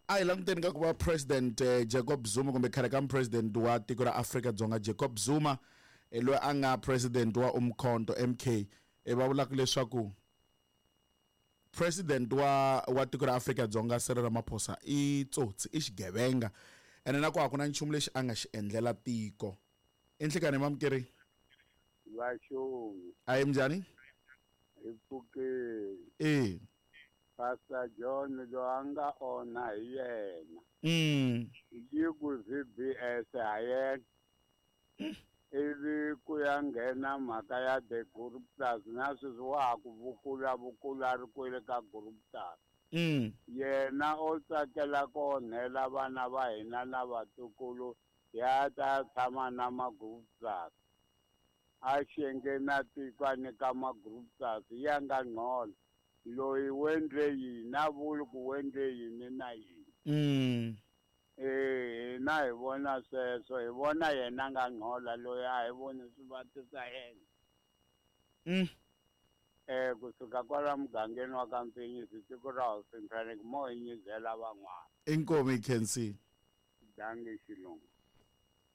A hi languteni ka ku va president eh, Jacob Zuma kumbe khale ka president wa tiko ra Afrika-Dzonga Jacob Zuma eh, loyi a nga president wa Umkhonto MK eh, va vulaka leswaku president wa wa tiko ra Afrika-Dzonga Cyril Ramaphosa i tsotsi i xigevenga ene na ku a ku na nchumu lexi a nga xi endlela tiko i nhlikani mamukeri Vaxongi a hi minjhani hi pfukile e Pastor John loyi a nga onha hi yena yi ku VBS ha yena ivi ku ya nghena mhaka ya the group plus na sweswi wa ha ku vukula vukula ri kwele ka group plus yena o tsakela ku onhela vana va hina na vatukulu ya ta tshama na ma-group plus a xenge na tiko a nyika ma-group plus ya nga ngcono loyi wendle yini a vuli ku wendle yini na yini Eh, hina hi vona sweswo hi vona yena nga ngcola loyi a hi voni swivati swa yena eh kusuka kwala mugangeni wa ka Mpfinyisi tiko ra Hosi Mfaneki mo hi nyizela van'wana inkomu hi khensile dangi xilungu.